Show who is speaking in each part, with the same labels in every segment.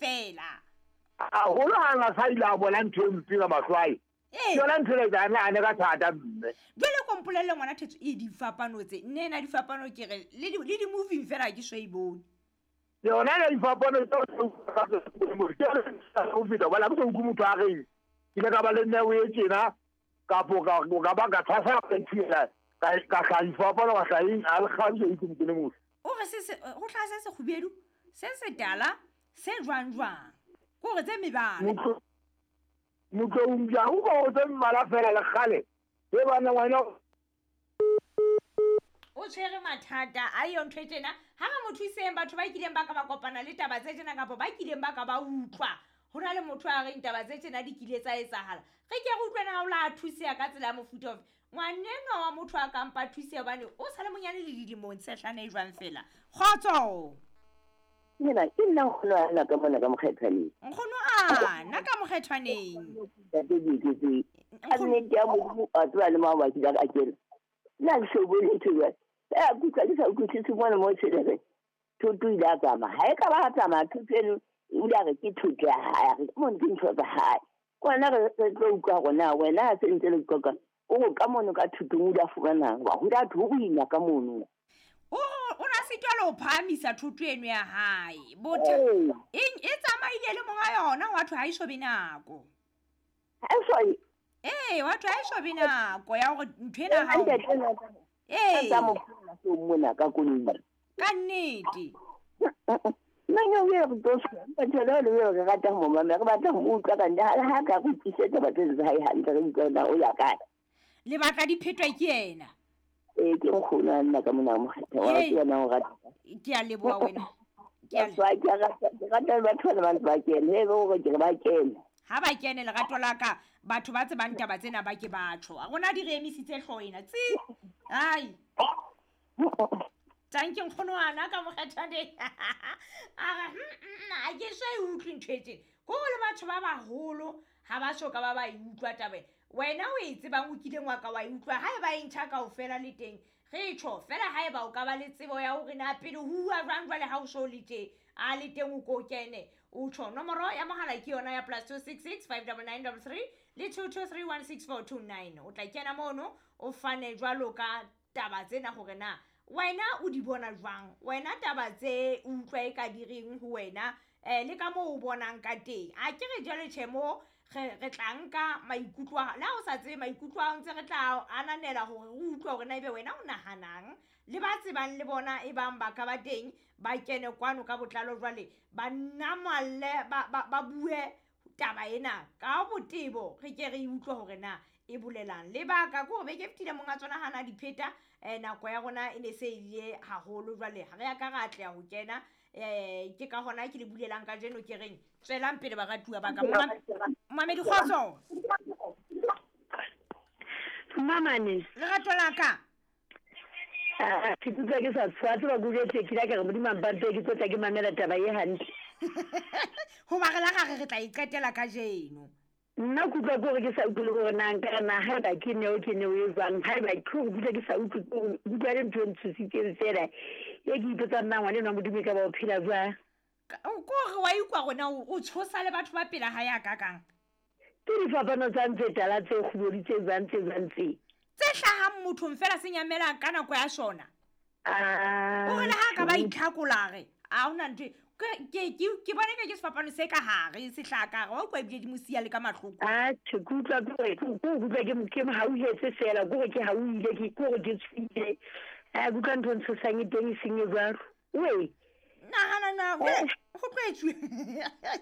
Speaker 1: fela.
Speaker 2: Haholo ha na sa ile a bona ntho e mpe ka mahlo ae.
Speaker 1: Ee.
Speaker 2: Ke yona ntho e etsang a ne ka thata mme.
Speaker 1: Jwale ko mpolelle ngwana Thetso e difapano tse. Nne ena difapano ke re le di le di-moving fela ha ke so e bone.
Speaker 2: Yona le difapano tse o feta hobane ha ke so utlwe motho a reng ke ile ka ba le neo e tjena kapo ka ka ba ka tshwasa ka ntshela ka ka hlaha difapano ka hlaha eng a le kgale ke utlwe motho le motho.
Speaker 1: O re se se ho hlaha se sekgubedu, se setala, se jwang jwang. Ke hore tse mebala.
Speaker 2: Motho Motloung ja o go tse mmala fela le kgale e bana ngwana
Speaker 1: o tshwere mathata a yo ntho e tjena ha re mo thuseng batho ba kileng ba ka ba kopana le taba tse tjena kapa ba kileng ba ka ba utlwa ho na le motho a reng taba tse tjena di kile tsa etsahala re ke re utlwe na o la thuseha ka tsela ya mofuta ofe ngwanenwa wa motho a kampa thuseha hobane o sa le monyane le dilemong tshehlana e jwang fela kgotso.
Speaker 3: Nna ke nna nkgono a nna ka mona ka mokgethwaneng.
Speaker 1: Nkgono a nna ka mokgethwaneng.
Speaker 3: Ntate Dieketseng. Ka nnete ya Modimo a tseba le maoba ke ka kena. Nna ke so bone ntho jwale. Feela ke utlwa ke sa utlwisise mona mo tshwereng. Thoto ile a tsamaya. Ha e ka ba a tsamaya thoto eno o ile a re ke thoto ya hae. A re mono ke ntho tsa hae. Kona re re tlo utlwa hore na wena ha se ntse le qoqa o re ka mono ka thotong o ile a fumanang. Wa ho ile a thwe ho boima ka mono.
Speaker 1: O o na sitwa le ho phahamisa thoto eno ya hae. Botha
Speaker 3: Ee.
Speaker 1: eng e tsamaile le monga yona wa thwe ha e so be nako.
Speaker 3: Ha e so
Speaker 1: Ee, wa thwe ha e so be nako ya hore ntho ena ha o.
Speaker 3: Ntate nna
Speaker 1: Ee.
Speaker 3: tsa mo phela so mona ka koloi.
Speaker 1: Ka nnete.
Speaker 3: Nna ke o re tlo batho le le re rata ho mo mamela, re batla ho mo utlwa ka ntle ha ha ka re utlwisetse batho tsa hae hantle re utlwa na o ya kae.
Speaker 1: Le batla di phetwa ke yena.
Speaker 3: Ee, ke nkgono a nna ka mona mokgetha wa
Speaker 1: Hey.
Speaker 3: ke yena o rata.
Speaker 1: Ke a leboha wena. Ke a
Speaker 3: Ke a ke rata ke rata le batho ba bang ba kene, he be hore ke re ba kene.
Speaker 1: Ha ba kene lerato la ka batho ba tsebang taba tsena ba ke batho. A rona di re emisitse hlooho ena. Tsi. Ai. Tanki nkgono ana ka mokgethwaneng. A re a ke so e utlwe ntho e tjena. Ko le batho ba baholo ha ba so ka ba ba e utlwa taba ena. Wena o e tsebang o kileng wa ka wa e utlwa ha eba e ntjha kaofela le teng re tjho fela ha eba o ka ba le tsebo ya hore na pele ho uwa jwang jwale ha o so le tje a le teng o ko kene o tjho nomoro ya mohala ke yona ya +266 59933 le 22316429 o tla kena mono o fane jwalo ka taba tsena hore na wena o di bona jwang wena taba tse o utlwa e ka di reng ho wena le ka moo o bonang ka teng a ke re jwale tjhe mo re re tla nka maikutlo a le ha o sa tsebe maikutlo a ntse re tla ananela hore re utlwe hore na ebe wena o nahanang le ba tsebang le bona e bang ba ka ba teng ba kene kwano ka botlalo jwale ba namalle ba ba ba bue taba ena ka botebo re ke re utlwe hore na e bolelang lebaka ke hore beke e fetile monga tsona hana di pheta nako ya rona e ne se ile haholo jwale ha re ya ka ra atleha ho kena ke ka hona ke le bulelang kajeno ke reng tswelang pele baratuwa ba ka Momamedi kgotso.
Speaker 4: Mamane.
Speaker 1: Lerato la ka.
Speaker 4: Ah, ke utlwa ke sa tshwatse ba kujetse ke la ke re Modimo a mpampe ke tlo tla ke mamela taba e hantle.
Speaker 1: Hoba re la ra re tla e qetela kajeno.
Speaker 4: Nna ke utlwa ke hore ke sa utlwe le hore na nka re na haeba ke neo ke neo e jwang, haeba ke hore ke utlwa ke sa utlwe, ke hore ke utlwa le ntho e ntshositseng fela e ke ipotsang na ngwana enwa Modimo e ka ba o phela jwang.
Speaker 1: Ke hore wa ikwa rona o tshosa le batho ba pela hae a kakang.
Speaker 4: Ke difapano tsa ntse tala tse kgubedu tse jwang tse jwang tse.
Speaker 1: Tse hlahang mothong fela se nyamelang ka nako ya sona.
Speaker 4: Ah.
Speaker 1: O re le ha ka ba itlhakola re a hona ntho ke bone ka ke sefapano se ka hare se hlaha ka hare wa utlwa ebile di mo siya le ka mahloko.
Speaker 4: Ah, tjhe, ke utlwa ke hore ke utlwa ke mo hauhetse fela, ke hore ke hauhile, ke hore ke tshohile. Ah, ke utlwa ntho e ntshosang e teng e seng e jwalo. Wee.
Speaker 1: Nahana na, ho tlo etsuwa.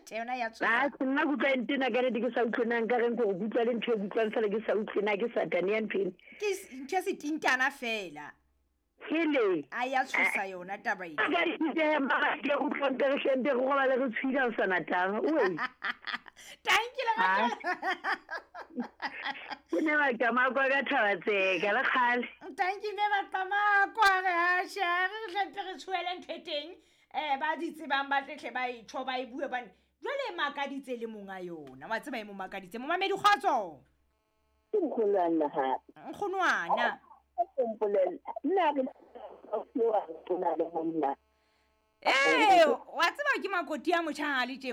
Speaker 1: Tjhe, yona ya tshosa.
Speaker 4: Ah, nna ke utlwa e ntena ka nnete ke sa utlwe na nka reng ke hore ke utlwa le ntho e ke utlwang fela ke sa utlwe na ke satane ya ntho ena.
Speaker 1: Ke ntho e setintana fela.
Speaker 4: Hele.
Speaker 1: A ya tshosa yona taba ena.
Speaker 4: Ka dithe mara ke utlwa nka re hlente re robale re tshohile ha o sa na taba. Oi.
Speaker 1: Thank you, lerato.
Speaker 4: Ke ne ba Qamako ka thaba tseka le kgale.
Speaker 1: Thank you, ne ba Qamako a re ha tjhe, re hlente re tshohele ntho e teng. Ba di tsebang ba tletle ba e tjho ba e bue bane. Jwale e makaditse le monga yona. Wa tseba e mo makaditse. Momamedi kgotso.
Speaker 3: Ke nkgono a nna hape.
Speaker 1: Nkgono ana.
Speaker 3: Ke mpolelle. Nna re o na le monna.
Speaker 1: Ee, wa tseba ke makoti a motjha ha le tje.